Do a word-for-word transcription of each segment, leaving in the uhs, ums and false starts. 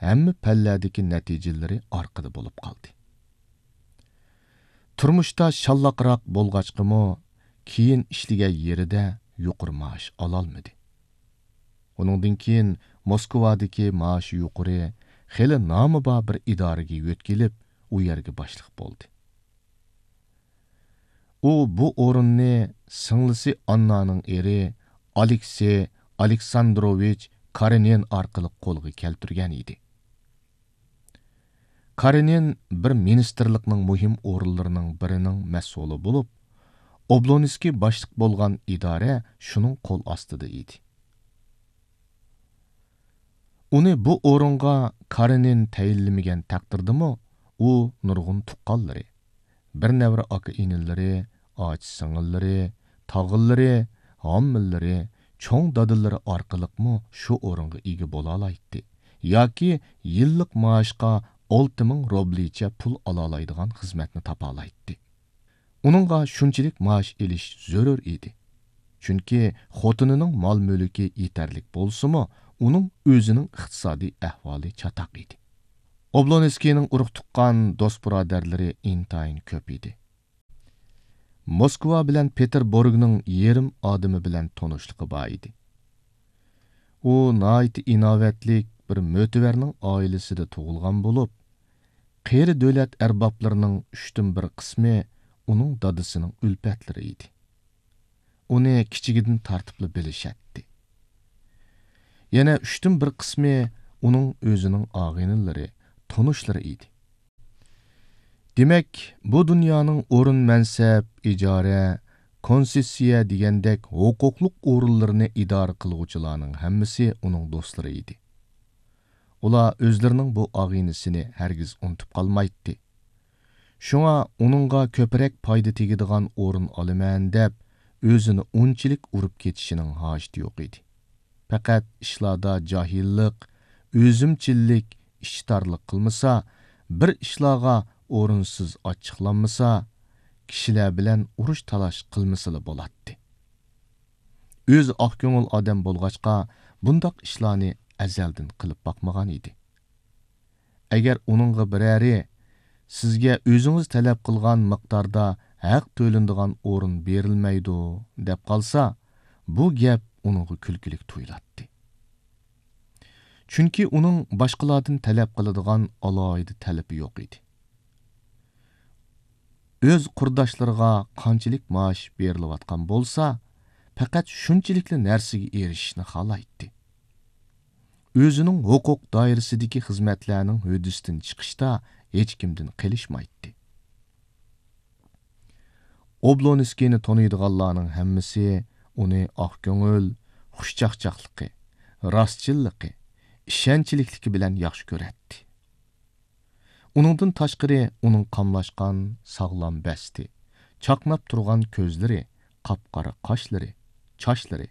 ھەممە پەللەدىكى نەتىجىلىرى ئارقىدا بولۇپ قالدى. تۇرمۇشتا شاللاقراق بولغاچقىمۇ، كېيىن ئىشلىگەن يېرىدە يۇقىرى مائاش ئالالمىدى. ئۇنىڭدىن كېيىن موسكۋادىكى مائاشى يۇقىرى، خېلى نامى بار بىر ئىدارىگە يۆتكىلىپ، ئۇ يەرگە باشلىق بولدى. ئۇ بۇ ئورۇننى سىڭلىسى ئاننانىڭ ئېرى ئالېكسېي ئالېكساندروۋىچ كارېنىن ئارقىلىق قولغا كەلتۈرگەن ئىدى. كارېنىن بىر مىنىستىرلىقنىڭ مۇھىم ئورۇنلىرىنىڭ بىرىنىڭ مەسئۇلى بولۇپ، ئوبلونسكىي باشلىق بولغان ئىدارە شۇنىڭ قول ئاستىدا ئىدى. ئۇنى بۇ ئورۇنغا كارېنىن تەيىنلىمىگەن تەقدىردىمۇ، ئۇ نۇرغۇن تۇغقانلىرى، بىر نەۋرە ئاكا-ئىنىلىرى، ئاچا-سىڭىللىرى، تاغىلىرى، ھاممىلىرى، چوڭ دادىلىرى ئارقىلىقمۇ شۇ ئورۇنغا ئىگە بولالايتتى ياكى يىللىق مائاشقا ئالتە مىڭ روبلىچە پۇل ئالالايدىغان خىزمەتنى تاپالايتتى. ئۇنىڭغا شۇنچىلىك مائاش ئېلىش زۆرۈر ئىدى. چۈنكى خوتۇنىنىڭ مال-مۈلكى يېتەرلىك بولسىمۇ، ئۇنىڭ ئۆزىنىڭ ئىقتىسادىي ئەھۋالى چاتاق ئىدى. ئوبلونسكىينىڭ ئۇرۇق-تۇغقان، دوست-بۇرادەرلىرى ئىنتايىن كۆپ ئىدى. موسكۋا بىلەن پېتېربۇرگنىڭ يېرىم ئادىمى بىلەن تونۇشلۇقى بار ئىدى. ئۇ ناھايىتى ئىناۋەتلىك بىر مۆتىۋەرنىڭ ئائىلىسىدە تۇغۇلغان بولۇپ، قېرى دۆلەت ئەربابلىرىنىڭ ئۈچتىن بىر قىسمى ئۇنىڭ دادىسىنىڭ ئۈلپەتلىرى ئىدى. ئۇنى كىچىكىدىن تارتىپلا بىلىشەتتى. يەنە ئۈچتىن بىر قىسمى ئۇنىڭ ئۆزىنىڭ ئاغىنىلىرى، تونۇشلىرى ئىدى. دېمەك، بۇ دۇنيانىڭ ئورۇن-مەنسەپ، ئىجارە، كونسېسسىيە دېگەندەك ھوقۇقلۇق ئورۇنلىرىنى ئىدارە قىلغۇچىلارنىڭ ھەممىسى ئۇنىڭ دوستلىرى ئىدى. ئۇلار ئۆزلىرىنىڭ بۇ ئاغىنىسىنى ھەرگىز ئۇنتۇپ قالمايتتى. شۇڭا ئۇنىڭغا كۆپرەك پايدا تېگىدىغان ئورۇن ئالىمەن دەپ، ئۆزىنى ئۇنچىلىك ئۇرۇپ كېتىشىنىڭ ھاجىتى يوق ئىدى. پەقەت ئىشلاردا جاھىللىق، ئۆزۈمچىللىك، ئىچتارلىق قىلمىسا، بىر ئىشلارغا ئورۇنسىز ئاچچىقلانمىسا، كىشىلەر بىلەن ئۇرۇش-تالاش قىلمىسىلا بولاتتى. ئۆزى ئاق كۆڭۈل ئادەم بولغاچقا، بۇنداق ئىشلارنى ئەزەلدىن قىلىپ باقمىغان ئىدى. ئەگەر ئۇنىڭغا بىرەرى، «سىزگە ئۆزىڭىز تەلەپ قىلغان مىقداردا ھەق تۆلىنىدىغان ئورۇن بېرىلمەيدۇ» دەپ قالسا، بۇ گەپ ئۇنىڭغا كۈلكىلىك تۇيۇلاتتى. چۈنكى ئۇنىڭ باشقىلاردىن تەلەپ قىلىدىغان ئالاھىدە تەلىپى يوق ئىدى. ئۆز قۇرداشلىرىغا قانچىلىك مائاش بېرىلىۋاتقان بولسا، پەقەت شۇنچىلىكلا نەرسىگە ئېرىشىشنى خالايتتى. ئۆزىنىڭ ھوقۇق دائىرىسىدىكى خىزمەتلەرنىڭ ھۆددىسىدىن چىقىشتا ھېچكىمدىن قېلىشمايتتى. ئوبلونسكىينى تونۇيدىغانلارنىڭ ھەممىسى ئۇنى ئاق كۆڭۈل، خۇشچاقچاقلىقى، راستچىللىقى، ئىشەنچلىكلىكى بىلەن ياخشى كۆرەتتى. ئۇنىڭدىن تاشقىرى، ئۇنىڭ قاملاشقان، ساغلام بەستى، چاقناپ تۇرغان كۆزلىرى، قاپقارا قاشلىرى، چاچلىرى،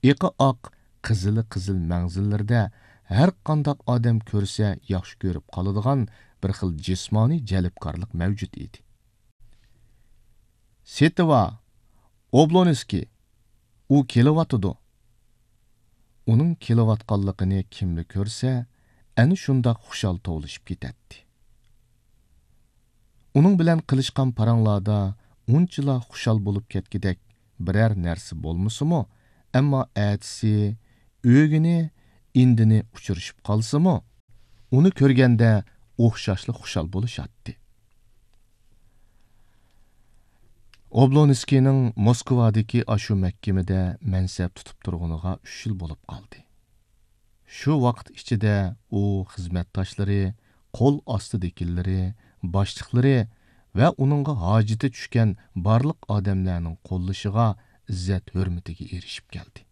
ئېقى ئاق، قىزىلى قىزىل مەڭزىلىرىدە ھەر قانداق ئادەم كۆرسە ياخشى كۆرۈپ قالىدىغان بىر خىل جىسمانىي جەلپكارلىق مەۋجۇت ئىدى. سېتىۋا، ئوبلونسكىي، ئۇ كېلىۋاتىدۇ. ئۇنىڭ كېلىۋاتقانلىقىنى كىملا كۆرسە، ئەنە شۇنداق خۇشال توۋلىشىپ كېتەتتى. ئۇنىڭ بىلەن قىلىشقان پاراڭلاردا ئۇنچىلا خۇشال بولۇپ كەتكۈدەك بىرەر نەرسە بولمىسىمۇ، ئەمما ئەتىسى، ئۆگۈنى، ئىندىنى ئۇچرىشىپ قالسىمۇ، ئۇنى كۆرگەندە ئوخشاشلا خۇشال بولۇشاتتى. ئوبلونسكىينىڭ موسكۋادىكى ئاشۇ مەھكىمىدە مەنسەپ تۇتۇپ تۇرغىنىغا ئۈچ يىل بولۇپ قالدى. شۇ ۋاقىت ئىچىدە ئۇ خىزمەتداشلىرى، قول ئاستىدىكىلىرى، باشلىقلىرى ۋە ئۇنىڭغا ھاجىتى چۈشكەن بارلىق ئادەملەرنىڭ قوللىشىغا، ئىززەت-ھۆرمىتىگە ئېرىشىپ كەلدى.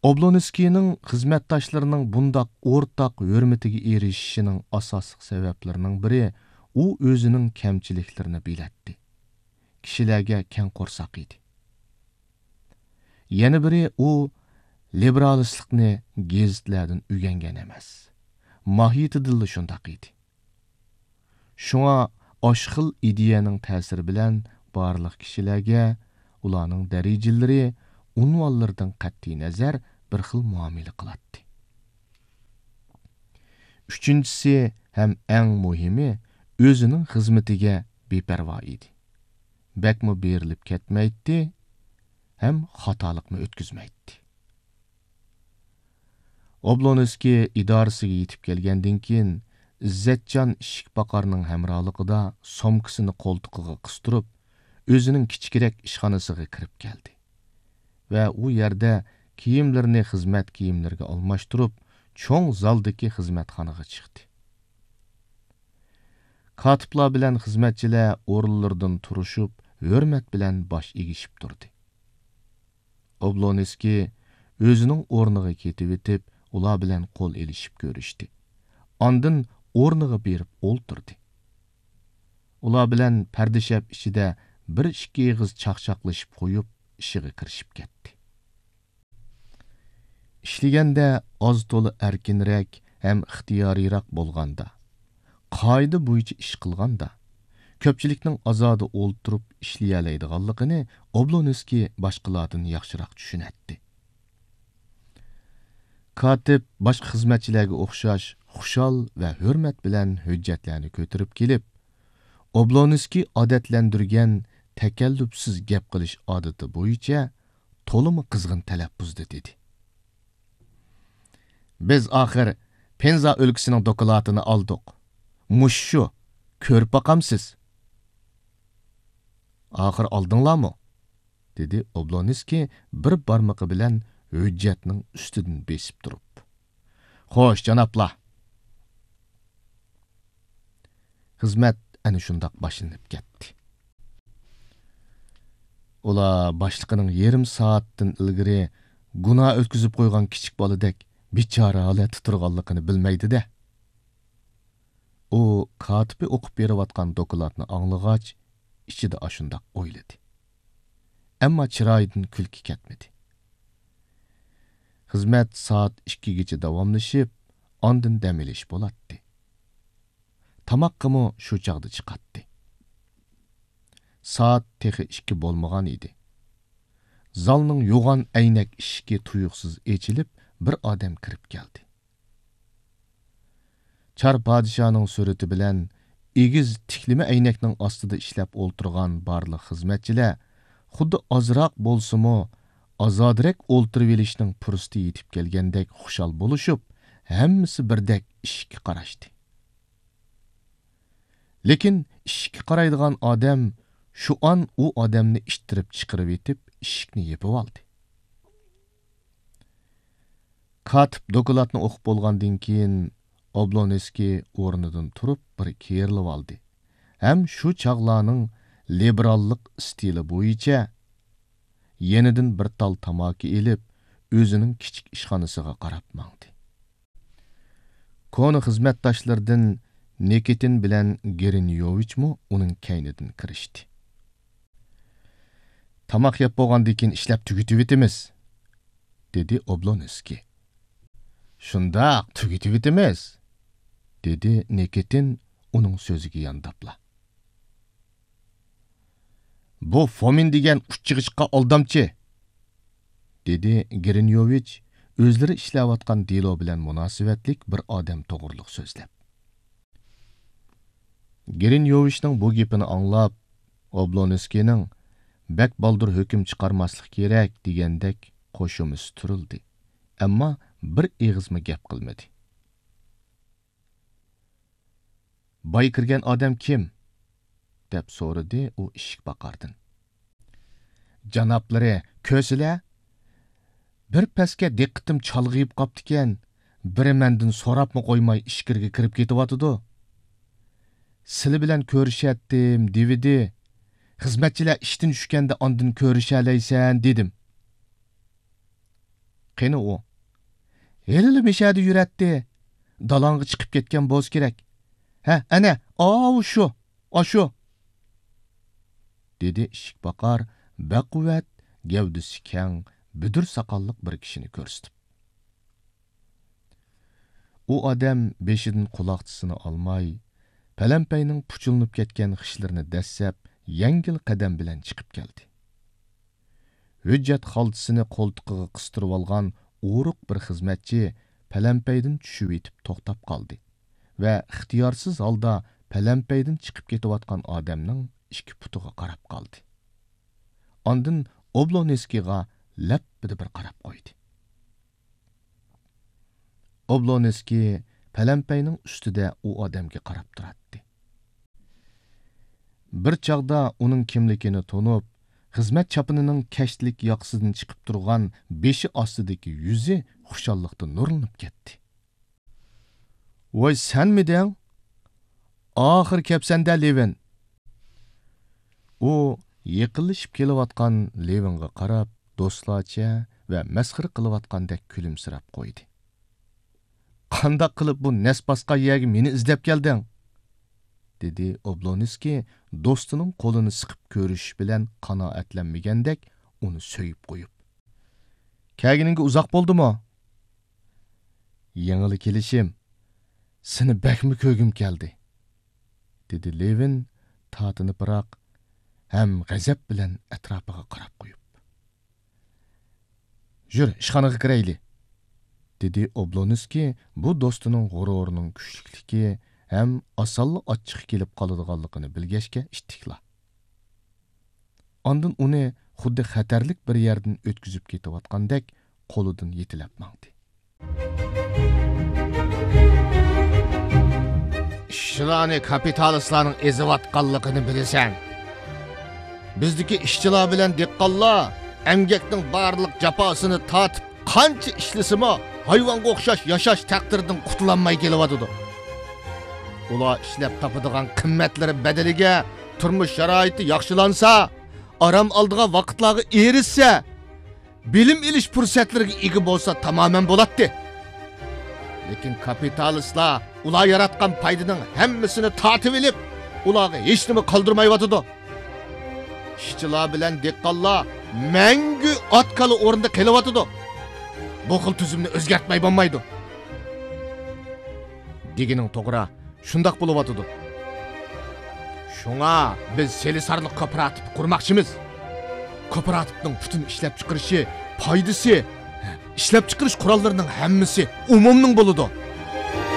ئوبلونسكىينىڭ خىزمەتداشلىرىنىڭ بۇنداق ئورتاق ھۆرمىتىگە ئېرىشىشىنىڭ ئاساسلىق سەۋەبلىرىنىڭ بىرى، ئۇ ئۆزىنىڭ كەمچىلىكلىرىنى بىلەتتى. كىشىلەرگە كەڭ قورساق ئىدى. يەنە بىرى، ئۇ لىبېرالىستلىقنى گېزىتلەردىن ئۆگەنگەن ئەمەس. ماھىيىتىدىنلا شۇنداق ئىدى. شۇڭا ئاشۇ خىل ئىدىيەنىڭ تەسىرى بىلەن بارلىق كىشىلەرگە ئۇلارنىڭ دەرىجىلىرى، ئۇنۋانلىرىدىن قەتئىينەزەر، بىر خىل مۇئامىلە قىلاتتى. ئۈچىنچىسى ھەم ئەڭ مۇھىمى، ئۆزىنىڭ خىزمىتىگە بىپەرۋا ئىدى. بەكمۇ بېرىلىپ كەتمەيتتى ھەم خاتالىقمۇ ئۆتكۈزمەيتتى. ئوبلونسكىي ئىدارىسىگە يېتىپ كەلگەندىن كېيىن، ئىززەتجان ئىشىك پاقارنىڭ ھەمراھلىقىدا سومكىسىنى قولتۇقىغا قىستۇرۇپ، ئۆزىنىڭ كىچىكرەك ئىشخانىسىغا كىرىپ كەلدى ۋە ئۇ يەردە كىيىملىرىنى خىزمەت كىيىملىرىگە ئالماشتۇرۇپ، چوڭ زالدىكى خىزمەتخانىغا چىقتى. كاتىپلار بىلەن خىزمەتچىلەر ئورۇنلىرىدىن تۇرۇشۇپ، ھۆرمەت بىلەن باش ئېگىشىپ تۇردى. ئوبلونسكىي ئۆزىنىڭ ئورنىغا كېتىۋېتىپ، ئۇلار بىلەن قول ئېلىشىپ كۆرۈشتى. ئاندىن ئورنىغا بېرىپ ئولتۇردى. ئۇلار بىلەن پەردىشەپ ئىچىدە بىر ئىككى ئېغىز چاقچاقلىشىپ قويۇپ، ئىشىغا كىرىشىپ كەتتى. ئىشلىگەندە ئاز تولا ئەركىنرەك ھەم ئىختىيارىيراق بولغاندا، قائىدە بويىچە ئىش قىلغاندا، كۆپچىلىكنىڭ ئازادە ئولتۇرۇپ ئىشلىيەلەيدىغانلىقىنى ئوبلونسكىي باشقىلاردىن ياخشىراق چۈشىنەتتى. كاتىپ باشقا خىزمەتچىلەرگە ئوخشاش خۇشال ۋە ھۆرمەت بىلەن ھۆججەتلەرنى كۆتۈرۈپ كېلىپ، ئوبلونسكىي ئادەتلەندۈرگەن تەكەللۇپسىز گەپ قىلىش ئادىتى بويىچە تولىمۇ قىزغىن تەلەپپۇزدا دېدى: بىز ئاخىر پېنزا ئۆلكىسىنىڭ دوكلاتىنى ئالدۇق. مۇشۇ شۇ، كۆرۈپ باقامسىز؟ ئاخىر ئالدىڭلارمۇ؟ دېدى ئوبلونسكىي بىر بارمىقى بىلەن ھۆججەتنىڭ ئۈستىدىن بېسىپ تۇرۇپ. خوش، جانابلار! خىزمەت ئەنە شۇنداق باشلىنىپ كەتتى. ئۇلار باشلىقىنىڭ يېرىم سائەتتىن ئىلگىرى گۇناھ ئۆتكۈزۈپ قويغان كىچىك بالىدەك بىچارە ھالەتتە تۇرغانلىقىنى بىلمەيدۇ-دە. ئۇ كاتىپى ئوقۇپ بېرىۋاتقان دوكلاتنى ئاڭلىغاچ، ئىچىدە ئاشۇنداق ئويلىدى. ئەمما چىرايىدىن كۈلكە كەتمىدى. خىزمەت سائەت ئىككىگىچە داۋاملىشىپ، ئاندىن دەم ئېلىش بولاتتى. تاماققىمۇ شۇ چاغدا چىقاتتى. سائەت تېخى ئىككى بولمىغان ئىدى. زالنىڭ يوغان ئەينەك ئىشىكى تۇيۇقسىز ئېچىلىپ، بىر ئادەم كىرىپ كەلدى. چار پادىشاھنىڭ سۈرىتى بىلەن ئېگىز تىكلىمە ئەينەكنىڭ ئاستىدا ئىشلەپ ئولتۇرغان بارلىق خىزمەتچىلەر خۇددى ئازراق بولسىمۇ، ئازادىرەك ئولتۇرۇۋېلىشنىڭ پۇرسىتى يېتىپ كەلگەندەك خۇشال بولۇشۇپ، ھەممىسى بىردەك ئىشىككە قاراشتى. لېكىن ئىشىككە قارايدىغان ئادەم شۇ ئان ئۇ ئادەمنى ئىتتىرىپ چىقىرىۋېتىپ، ئىشىكنى يېپىۋالدى. كاتىپ دوكلاتنى ئوقۇپ بولغاندىن كېيىن، ئوبلونسكىي ئورنىدىن تۇرۇپ بىر كېرىلىۋالدى ھەم شۇ چاغلارنىڭ لىبېراللىق ئىستىلى بويىچە يېنىدىن بىر تال تاماكا ئېلىپ، ئۆزىنىڭ كىچىك ئىشخانىسىغا قاراپ ماڭدى. كونا خىزمەتداشلىرىدىن نىكىتىن بىلەن گىرىنيوۋىچمۇ ئۇنىڭ كەينىدىن كىرىشتى. تاماق يەپ بولغاندىن كېيىن ئىشلەپ تۈگىتىۋېتىمىز، دېدى ئوبلونسكىي. شۇنداق، تۈگىتىۋېتىمىز، دېدى نىكىتىن ئۇنىڭ سۆزىگە يانداپلا. بۇ فومىن دېگەن ئۇچچىغىچقا ئالدامچى، دېدى گرىنيوۋىچ ئۆزلىرى ئىشلەۋاتقان دېلو بىلەن مۇناسىۋەتلىك بىر ئادەم توغرىلىق سۆزلەپ. گرىنيوۋىچنىڭ بۇ گېپىنى ئاڭلاپ، ئوبلونسكىينىڭ بەك بالدۇر ھۆكۈم چىقارماسلىق كېرەك دېگەندەك قوشۇمىسى تۇرۇلدى، ئەمما بىر ئېغىزمۇ گەپ قىلمىدى. بايا كىرگەن ئادەم كىم؟ دەپ سورىدى ئۇ ئىشىك باقاردىن. جانابلىرى كۆرسىلە، بىر پەسكە دىققىتىم چالغىيىپ قاپتىكەن، بىرى مەندىن سوراپمۇ قويماي ئىچكىرىگە كىرىپ كېتىۋاتىدۇ. سىلى بىلەن كۆرۈشەتتىم دېۋىدى. خىزمەتچىلەر ئىشتىن چۈشكەندە ئاندىن كۆرۈشەلەيسەن دېدىم. قېنى ئۇ؟ ھېلىلا مىشەدە يۈرەتتى. دالاڭغا چىقىپ كەتكەن بولسا كېرەك. ھە، ئەنە، ئاۋۇ شۇ، ئاشۇ. دېدى ئىشىك باقار، بەقۇۋۋەت، گەۋدىسى كەڭ، بۈدۈر ساقاللىق بىر كىشىنى كۆرسىتىپ. ئۇ ئادەم بېشىدىن قۇلاقچىسىنى ئالماي، پەلەمپەينىڭ پۇچۇلىنىپ كەتكەن خىشلىرىنى دەسسەپ، يەڭگىل قەدەم بىلەن چىقىپ كەلدى. ھۆججەت خالتىسىنى قولتۇقىغا قىستۇرۇۋالغان ئورۇق بىر خىزمەتچى پەلەمپەيدىن چۈشۈۋېتىپ توختاپ قالدى. ۋە ئىختىيارسىز ھالدا پەلەمپەيدىن چىقىپ كېتىۋاتقان ئادەمنىڭ ئىككى پۇتىغا قاراپ قالدى. ئاندىن ئوبلونسكىيغا لەپپىدە بىر قاراپ قويدى. ئوبلونسكىي پەلەمپەينىڭ ئۈستىدە ئۇ ئادەمگە قاراپ تۇراتتى. بىر چاغدا ئۇنىڭ كىملىكىنى تونۇپ، خىزمەت چاپىنىنىڭ كەشتىلىك ياقىسىدىن چىقىپ تۇرغان بېشى ئاستىدىكى يۈزى خۇشاللىقتا نۇرلىنىپ كەتتى. ۋاي، سەنمىدىڭ؟ ئاخىرى كەپسەندە، لېۋىن! ئۇ يېقىنلىشىپ كېلىۋاتقان لېۋىنغا قاراپ، دوستلارچە ۋە مەسخىرە قىلىۋاتقاندەك كۈلۈمسىرەپ قويدى. قانداق قىلىپ بۇ نەس باسقان يەرگە مېنى ئىزدەپ كەلدىڭ؟ دېدى ئوبلونسكىي دوستىنىڭ قولىنى سىقىپ كۆرۈشۈش بىلەن قانائەتلەنمىگەندەك ئۇنى سۆيۈپ قويۇپ. كەلگىنىڭگە ئۇزاق بولدىمۇ؟ يېڭىلا كېلىشىم، سېنى بەكمۇ كۆرگۈم كەلدى، دېدى لېۋىن تارتىنىپراق ھەم غەزەپ بىلەن ئەتراپىغا قاراپ قويۇپ. يۈر، ئىشخانىغا كىرەيلى، دېدى ئوبلونسكىي بۇ دوستىنىڭ غۇرۇرىنىڭ كۈچلۈكلۈكى ھەم ئاسانلا ئاچچىقى كېلىپ قالىدىغانلىقىنى بىلگەچكە ئىتتىكلا. ئاندىن ئۇنى خۇددى خەتەرلىك بىر يەردىن ئۆتكۈزۈپ كېتىۋاتقاندەك قولىدىن يېتىلەپ ماڭدى. ئىشچىلارنى كاپىتالىستلارنىڭ ئېزىۋاتقانلىقىنى بىلىسەن. بىزدىكى ئىشچىلار بىلەن دېھقانلار ئەمگەكنىڭ بارلىق جاپاسىنى تارتىپ، قانچە ئىشلىسىمۇ، ھايۋانغا ئوخشاش ياشاش تەقدىرىدىن قۇتۇلالماي كېلىۋاتىدۇ. ئۇلار ئىشلەپ تاپىدىغان قىممەتلىرى بەدىلىگە تۇرمۇش شارائىتى ياخشىلانسا، ئارام ئالىدىغان ۋاقىتلارغا ئېرىشسە، بىلىم ئېلىش پۇرسەتلىرىگە ئىگە بولسا تامامەن بولاتتى. لېكىن كاپىتالىستلار ئۇلار ياراتقان پايدىنىڭ ھەممىسىنى تارتىۋېلىپ، ئۇلارغا ھېچنېمە قالدۇرمايۋاتىدۇ. ئىشچىلار بىلەن دېھقانلار مەڭگۈ ئات-كالا ئورنىدا قېلىۋاتىدۇ. بۇ خىل تۈزۈمنى ئۆزگەرتمەي بولمايدۇ. دېگىنىڭ توغرا، شۇنداق بولۇۋاتىدۇ. شۇڭا بىز سېلىسارلىق كوپىراتىپ قۇرماقچىمىز. كوپىراتىپنىڭ پۈتۈن ئىشلەپچىقىرىشى، پايدىسى، ئىشلەپچىقىرىش قوراللىرىنىڭ ھەممىسى ئومۇمنىڭ بولىدۇ.